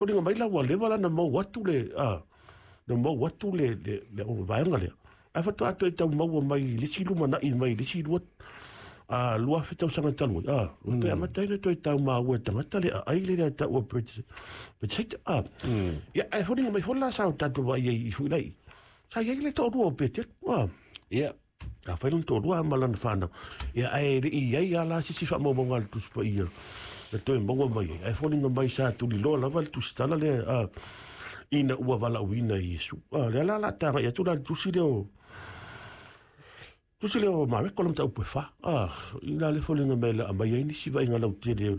Foliga mai la ua leva la na maua atu le na maua atu le vaega lea, ae faatoa toe tau maua mai i le isi lumanai mai i le isi 2000 tausaga talu ai, ua toe amata ai ona toe tau maua e tagata le aai lea e taua Bethsaida. Ia, ae foliga mai foi la sa o tatou vaai ai i Fuilai, sa i ai le toalua o Peteru. Ia. A fai lona toalua ma lana fanau. Ia, ae le i ai lava la se isi faamaumauga a le Tusi Paia na toe maua mai ai. Ae foliga mai sa tuliloa lava le tusitala lea ina ua valaauina e Iesu. Lea la o le a tagai atu la i le tusi lea o tusi lea o Mareko le mataupu e 4. I la le foliga mai la aumai ai nisi vaaiga lautele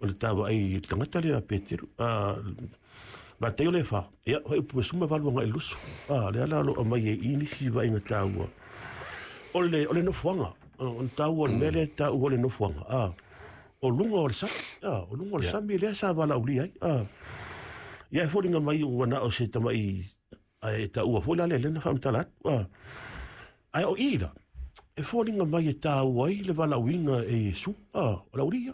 o le tavaai i le tagata lea a Peteru. Mataio le 4, ia, fuaiupu 18 agai i le 20. Lea la o lo o aumai ai i nisi vaaiga taua. O le nofoaga, o le taua o le mea lea e taua o le nofoaga. O luga o le sami, o luga o le sami lea sa valaaulia ai. Ia, e foliga mai ua na o se tamai, ae taua foi la lea na faamatala atu. Ae o i la, e foliga mai e taua ai le valaauina e Iesu, o le aualii.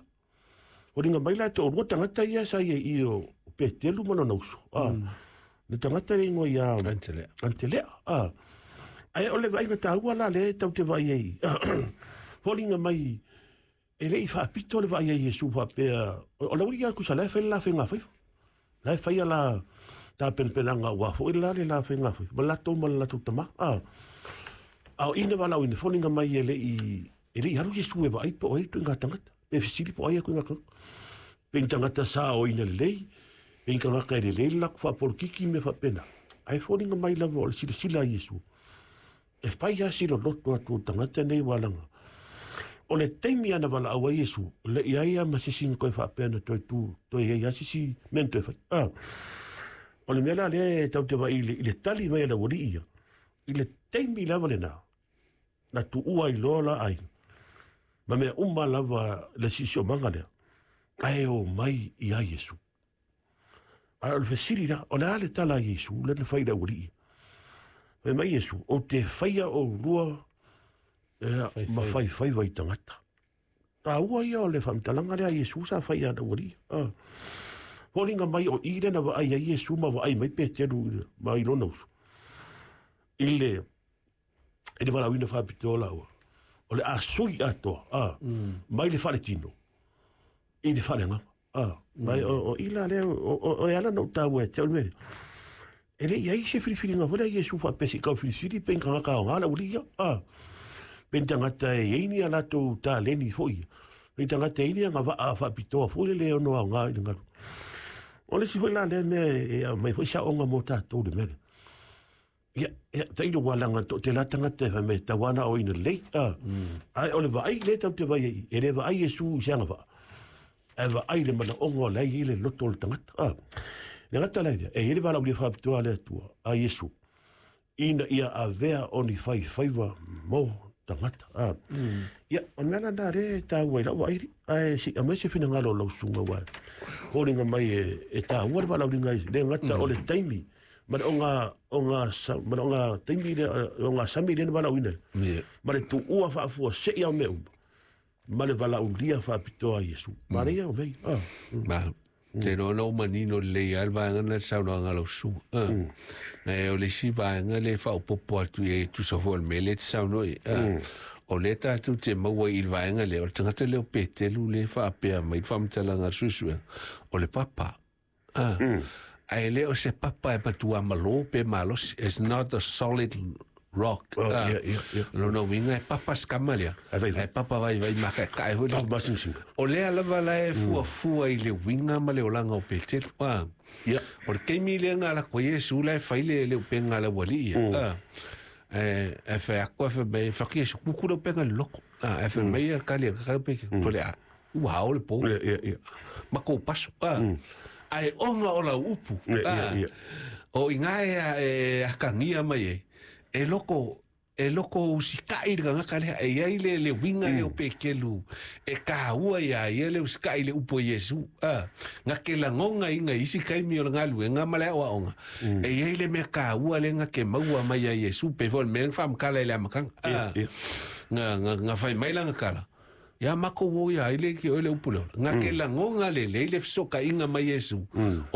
Foliga mai la e toalua tagata ia sa i ai i o Petelu ma lona uso. Le tagata le igoa ia Antelea. Antelea. Ae o le vaaiga taua la lea e tau te vaai ai. Foliga mai e le i faapito le vaai ai Iesu faapea, o le aualii ia tusa la e fai le la faiga faiva. La e faia la tapenapenaga aua foi la le la faiga faiva. Ma latou ma le latou tama. A o ina valaauina, foliga mai e le i alu Iesu e vaai po o ai ituaiga tagata. Pe fesili po o ai ituaiga tagata. Pe ni tagata sa o ina lelei, pe ni tagata e lelei le latou faapolokiki mea faapena. Ae foliga mai lava o le silasila a Iesu. E fai lava si loloto atu o tagata nei ua laga. O le taimi ana valaau ai Iesu, le i ai lava ma se isi na toe faapea na toe tu, toe i ai lava se isi mea na toe fai. O le mea la lea e tau te vaai i le tali mai a le aualii ia, i le taimi lava lena, na tuua ai loa la aiga. Ma mea uma lava le siosiomaga lea, ae o mai ia Iesu. Ae o le fesili la, o le a le tala a Iesu lea na fai i le aualii? Fai mai Iesu, ou te faia oulua ma faifaiva i tagata. Taua ia o le faamatalaga lea a Iesu sa fai ia le aualii. Foliga mai o i lea na vaai ai Iesu ma vaai mai Peteru ma i lona uso. I le valaauina faapitoa laua. O le a sui atoa, mai le faaletino i le faaleagaga. Mai o i la lea o e ala na ou taua e te au le mea lea. E le i ai se filifiliga foi lea Iesu faapea se i kau filifili pe ni tagata aoga le aualii ia. Pe ni tagata e i ai ni a latou taleni foi ia. Pe ni tagata e i ai ni agavaa faapitoa foi le ono aoga i le galu. O le isi foi la lea mea e aumai foi saoga mo tatou le mea lea. Ia, ia, tailo ua laga to te la tagata e fai mai tau ana o ina lelei. Ae o le vaai lea tau te vaai ai, e le vaai Iesu i se agavaa. Ae vaai le manaoga o la e i ai le loto o le tagata. Le gata la lea, e i ai le valaaulia faapitoa a le Atua, a Iesu, ina ia avea o ni faifaiva mo tagata. Ia, o le mea la lena lea e taua i lau vaai, ae se i aumai se finagalo o lau susuga ua foliga mai e taua le valaauliga ai. Le gata o le taimi, ma le oga, ma le oga taimi lea, oga sami lea na valaauina ai. Ma le tuua faafuasei au mea uma, ma le valaaulia faapitoa a Iesu. Manaia o mea ia. Ma, te iloa na ou manino lelei lava le vaega lena i le saunoaga a lau susuga. Ae o le isi vaega lea e faaopoopo atu i ai e tusa foi o le mea lea e te saunoa i ai. O lea tatou te maua i le vaega lea, o le tagata lea o Petelu lea e faapea mai le faamatalaga a le suesuega, o le papa. Ae le o se papa e matua malo pe malosi. It's not a solid rock. Oh, yeah. Lona uiga e papa se kama lea. Ae vaivai. Ae papa vaivai makaekae foi lea. Papa masingasinga. O lea lava la e fuafua i le uiga ma le olaga o Petelu. O le taimi lea na ala atu ai Iesu la e fai le upega a le aualii ia. E fai atu e fai mai, fai atu Iesu, kuku le upega i le loto. E fai mai ia kali a kali Petelu, tole a, ua ao le po. Yeah, yeah, yeah. Ma kou paso. Ae ona o lau upu. Yeah. O inā e akagia mai ai, e loko usikai le tagata lea, e i ai le uiga lea o Petelu e taua iā ia le usikai le upu a Iesu. Na te lagoga iga i isi taimi o le galuega ma le aoaoga, e i ai le mea taua lea na te maua mai ia Iesu, pe foi o le mea na faamatala i le amataga. Na fai mai lana tala, ia makou o ia ai le ki oe le upu le ola. Na te lagoga lelei le fesootaiga mai Iesu.